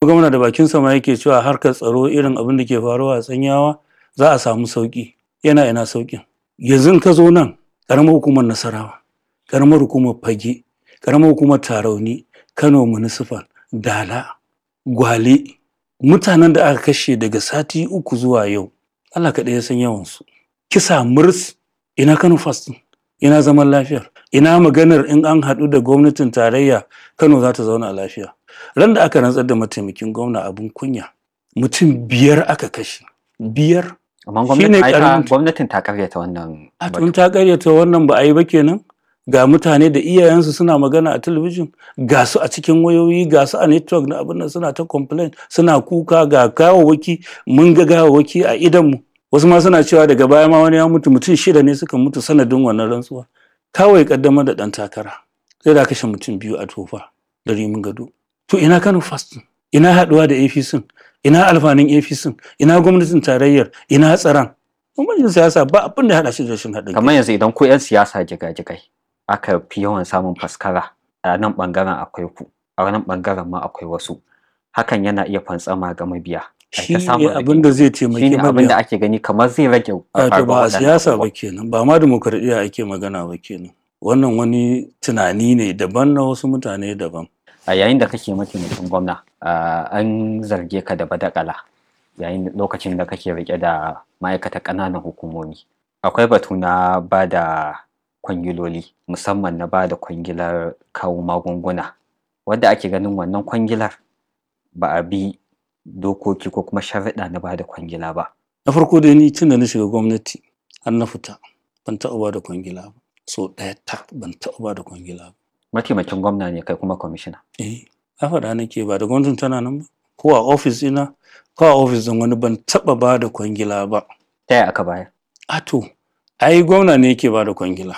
Gwamna da bakin sama yake cewa harkar tsaro irin abin da ke faruwa a Tsanyawa za a samu sauki. Yana ina saukin? Yanzu in ka zo nan ƙaramar hukumar Nasarawa, ƙaramar hukumar Fage, ƙaramar hukumar Tarauni, Kano Municipal, Dala, Gwale, mutanen da aka kashe daga sati 3 zuwa yau, Allah kaɗai ya san yawansu. Kisa murs, ina Kano First ɗin? Ina zaman lafiyar? Ina maganar in an haɗu da gwamnatin tarayya Kano za ta zauna lafiya? Ran da aka rantsar da mataimakin gwamna, abin kunya, mutum 5 aka kashe. 5. Amma Shine gwamnati ai ta ƙaramin gwamnatin ta karyata wannan A batu. tun ta karyata wannan ba a yi ba kenan. Ga mutane da iyayensu suna magana a talabijin, ga su a cikin wayoyi, ga su a network na abin nan suna ta complain, suna kuka, ga gawawwaki, mun ga gawawwaki a idonmu. Wasu ma suna cewa daga baya ma wani ya mutu, mutum 6 ne suka mutu sanadin wannan rantsuwa. Kawai kaddamar da ɗan takara sai da kashe mutum 2 a Tofa da Rimin Gado. To ina Kano First ɗin? Ina haɗuwa da APC? Ina alfanun APC? Ina gwamnatin tarayyar? Ina tsaron? Bambancin siyasa ba abin da ya haɗa shi da rashin haɗin kai. Kamar yanzu idan ku 'yan siyasa jigajigai aka fi yawan samun faskara, a nan ɓangaren akwai ku, a nan ɓangaren ma akwai wasu. Hakan yana iya fantsama ga mabiya. Ai Shi ta ne samun abin da rigingimu. zai taimaki Shi ne abin da mabiya. ake gani kamar zai rage Wato faruwar ba a waɗannan siyasa ba abubuwan. kenan, ba ma dimokuraɗiyya ake magana ba kenan. Wannan wani tunani ne daban na wasu mutane daban. A yayin da kake mataimakin gwamna, an zarge ka da badakala yayin lokacin da kake riƙe da ma'aikatar ƙananan hukumomi. Akwai batu na ba da kwangiloli, musamman na ba da kwangilar kawo magunguna, wadda ake ganin wannan kwangilar ba a bi dokoki ko kuma sharuɗa na ba da kwangila ba. Na farko dai, ni tun da na shiga gwamnati har na fita, ban taɓa ba da kwangila ba. So ɗaya tak ban taɓa ba da kwangila ba. Mataimakin gwamna ne kai kuma kwamishina. Eh, na faɗa nake, ba da gwamnatin tana nan ba. Ko a ofis ɗina ko a ofis ɗin wani, ban taɓa ba da kwangila ba. Ta yaya aka bayar? A to, ai gwamna ne yake ba da kwangila.